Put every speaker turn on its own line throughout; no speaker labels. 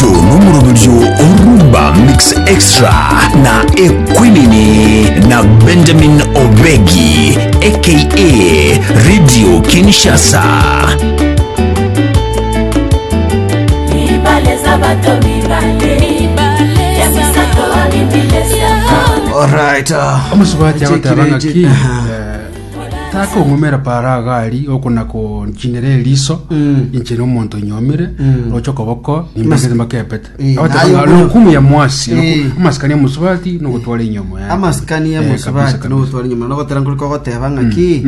Oyo nomoroberio o Rumba Mix Extra na Equinini na Benjamin Obegi aka Radio Kinshasa.
Alright. Uh,
Omosubachi agoteba ng'aki
Chekire- Aha.
eh, takong'umera para agari okona konchinera eriso inche na omonto onyomire roche okoboko nimbekete mbakepete
Eh,
Agoteba
naye
ng'a
okonya-
lokumu ya mwasi
Eh.
amasikani ya mosubati nogotwara enyomo yaye.
amasikani ya
Eh,
mosubati
kabisa, kabisa.
nogotwara nyuma nogotera nkori kogoteba ng'aki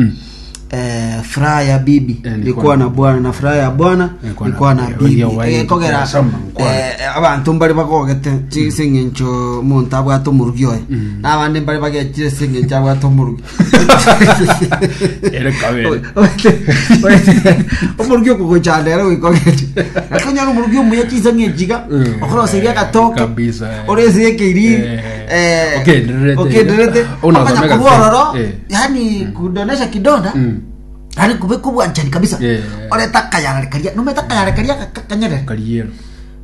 eh, furaha ya bibi
Eh, ni
ni
kuwa
kuwa
na
na bwana na furaha ya bwana
Ni kuwa
ni
na
kuwa na
bibi.
bibi
Oria wayi,
ekogera
soma, nkwana.
eh, abanto mbare bagogete ase eng'encho omonto abwate omorugi oye na abande mbare bagechire ase eng'encho abwate omorugi
Ere kabere.
omorugi okogochanda ere goika ogeche lakini onyore omorugi omuya chinsa ng'echiga
Mm.
okoroseria agatoke
Kabisa, eh.
oresie ekeiriri
Eh.
eh,
Okendererete.
okendererete
Ona
Okonya
osomeka
korwa ororo
eh.
yani kudonesha kidonda
Mm.
yani kubeka obwanchani kabisa
Eh.
oreta akayarare karia nomete akayarare karia ka- kanyerere
Kariero.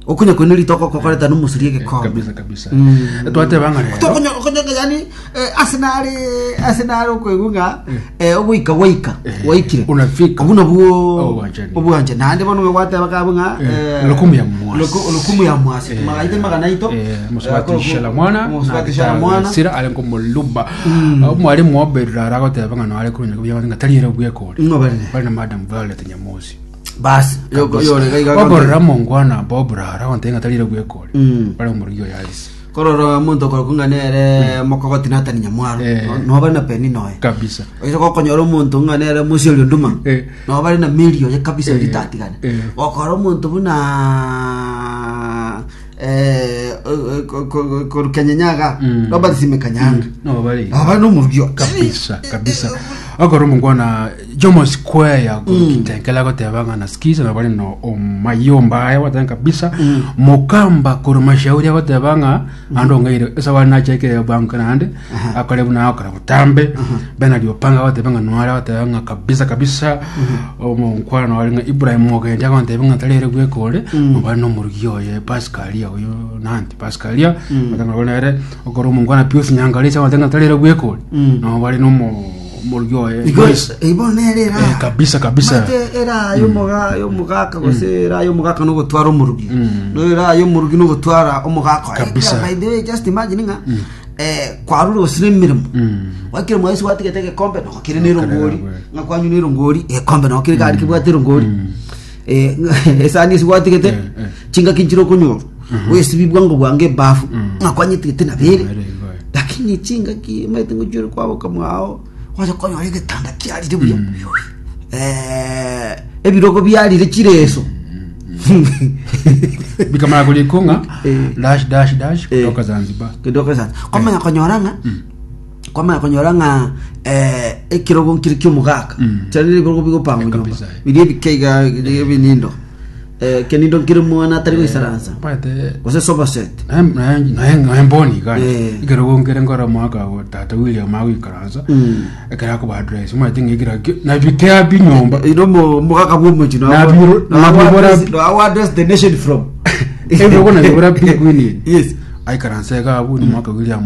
okonya koina ritoko kokoreta nomosuria egekombe
Kabisa kabisa.
Mm.
Twateba ng'a rero.
Tokonya okonya yani eh, ase nare ase nare okoigwa ng'a eh, ogoika gwaika
Eh,
waikire
unafika.
obwo nabwo
Obwanchani.
obwanchani naende bono gwateba kabu ng'a
Eh,
eh,
lokumu ya mwasi.
loko- lokumu ya mwasi
Eh,
magaite magana aito
eh, mosubati
Eh,
shala mwana
mosubati shala mwana
sira ari nkomoluba omwarimu oberera aragoteba ng'a noare korunya buya ng'a tari ere bwekore
Ng'o barire?
bari na madam Violet Nyamosi
basi yoko- yore gaiga
okorora mongwana Bob Rara agontebia ng'a tari ere bwekore
Mm.
bari omorugi oyo Alice
korora omonto okorokwa ng'a nere mokogoti Nathan Nyamwaro
Eh.
No- noba na Penny noye
kabisa
oise gokonyora omonto ng'a nere Mosiori Nduma
Eh.
noba bare na Mary oye kabisa
Eh.
ritatigane
Eh.
gokora omonto buna eh, eh, ko- ko- koru Kenyenyaga
Mm.
Robert Sime Kanyanga
no bari
noba bare nomorugi oye.
kabisa kabisa okora omongwana Jomo Square ya kitenkela agoteba ng'a nasikiza na bari no omayomba aya gwateba kabisa mokamba korwa mashauri agoteba ng'a ande ong'aire ase abare nachekire bank naende akore buna agokora botambe Bernard Opanga agoteba ng'a noare agoteba ng'a kabisa kabisa omonkwana noare ng'a Ibrahim Ogendi agontebia ng'a tari ere bweka ore nobare nomorugi oye Pascalia oyo nanti Pascalia agoteba ng'a nere okora omonkwana Pius Nyangaresi agoteba ng'a tari ere bweka ore nobare nomo omorugi oye
Igo
Joyce.
ibo nere era
Eh, kabisa kabisa
Mate era y'omoga y'omogaka gose era y'omogaka nogotwara omorugi no era y'omorugi nogotwara omogaka oye.
Kabisa.
By the way just imagine ng'a eh, kwarure gose na emeremo gwakire mwaisi gwatigete egekombe noko kere na erongori ng'a kwanywa na erongori egekombe noko kere gari kebwate erongori Eh, esani ase gwatigete
Eh, eh.
chingaki nchire okonyorwa oesibi bwango bwango ebafu ng'a kwanyetigete nabere
Nabere igo, eh.
lakini chingaki omanyete ngochiore kwaboka mwao gwacha konyora egetanda kiarire buya Eh, ebirogo biarire chireso
bikamara korikwo ng'a
Eh.
dash dash dash
Eh.
kutoka Zanzibar
kidogo sana kwamanya konyora ng'a kwamanya konyora ng'a eh, ekirogo nkire ki'omogaka chari ebirogo bigopangwa nyomba
Kabisa, eh.
biria ebike iga biria ebinindo Eh, kenindo nkire mwana atari goisaransa
Omanyete
gose sofa set
naye mboni iga
Eh.
ekerogo nkere nkora omwaka go tata William agoikaransa ekero akoba address omanyete ng'a ekero akio nabikea pi nyomba
ino omogaka bwa omochi
Nabiro- nabibora-
no address the nation from
ebirogo nabibora pi kwini
yes
aikaransa iga abwo nomwaka William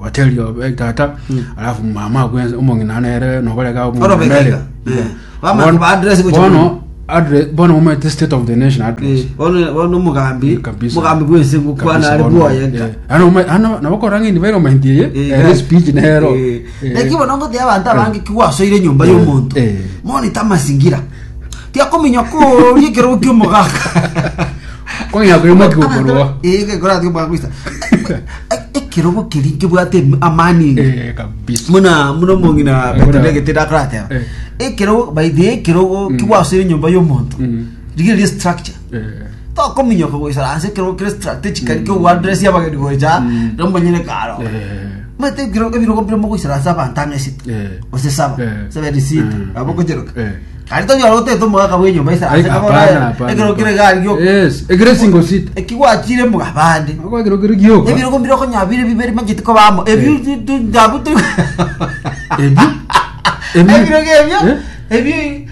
bateri tata alafu mama akwensa omong'ina nere nobarega
Orobeka iga. Eh. Bamanya koba address gocha
bono address bono omanyete state of the nation address
Eh, bono bono omogambi
Kabisa.
omogambi bwense ngokwana
Kabisa,
are
bono.
bwoye nka
Eh, ano oma- ano nabokora ng'ini baire omainti eye
Eh,
ere speech nero
Eh,
Eh.
naki bono ngotebi abanto abange ki gwasoire enyomba y'omonto
Eh.
monita amazingira tiakominya koria ekerogo kia omogaka
Kwang'ea koimokia okorwa.
Eh, gekora ati omogaka goisa. Ekerogo keria nkebwate em- amani inge.
Eh, kabisa
muna muna omong'ina
Eh,
Petero egete ndakorateba
Eh.
ekerogo by the way, ekerogo kigwasoire enyomba y'omonto
Mm.
rigereria structure
Eh.
tokominyoka goisaransa ekerogo kere strategically kiogoaddress abageni gocha nomonyene karo
Eh.
Omanyete ekero ebirogo mbire mogoisaransa abanto ang'e sita
Eh.
gose saba
Eh.
saba sita
Mm.
nabo okocheroka
Eh.
kare tonyora gotete omogaka bwa enyomba
Ai,
aisaranse
hapana, hapana,
ekero kere
hapana.
gari gioka
Yes, ekere single seat.
ekigwachire mugabande
Ako ekero kere gioka.
ebirogo mbire okonyora bire bibere macheti koba amo ebio
Eh.
tu- tu- nabo turi
Ebio. Ebio.
ebirogo ebio
Eh?
ebio.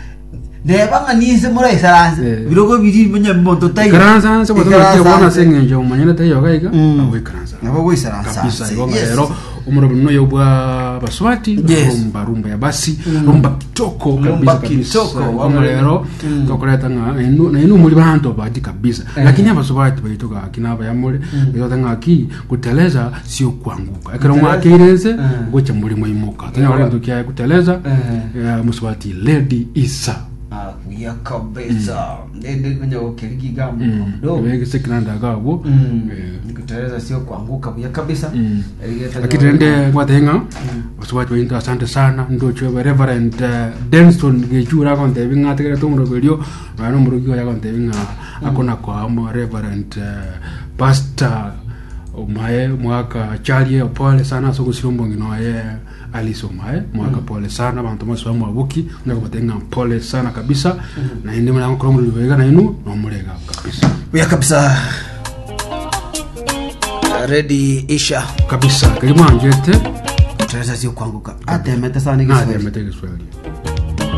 Neba ng'a ninse moraisaranse
Eh.
birogo biri monye monto taiyo.
Ikaransa nse bote
Ikaransa
naki bona
nse.
ase eng'encho omonyene taiyo iga iga
Mm.
agoikaransa
Nabo goisaransa
kabisa
nse.
igo
Yes.
rero omorobi noyo bwa baswati
Yes.
rumba rumba ya basi rumba kitoko
Rumba
kabisa kabisa
kitoko,
Igo
wamwe.
rero tokoreta ng'a enu na enu muri banto bati kabisa lakini abaswati baitu gaki nabayamore betota ng'aki kuteleza sio kuanguka ekero mwakeire nse gocha muri mwaimoka tonyora gento kiaye kuteleza
Eh.
eh, muswati lady isa
Ah, buya kabisa ndende konya gokerigi gambo mdogo
egesekinandaga abwo
Mm.
Eh,
Nikuteleza sio kuanguka buya kabisa Erigeta
lakini rende ngwate ng'a baswati bainto asante sana ndochwe reverend eh, Denson Gechura agontebi ng'a ategerete omoroberio nonya na omoroki oye agontebi ng'a akona koamo reverend eh, pastor omae mwaka charie pole sana ase ogosira omong'ina oye Alice omae mwaka pole sana abanto bonsi bamwaboki nakobatebia ng'a pole sana kabisa naende muna gokora omorero iga nainwe nomorega kabisa
buya kabisa ready isha
kabisa keri mwanchete
kuteleza sio kuanguka atemete sana igiswahili
natemete egeswahili.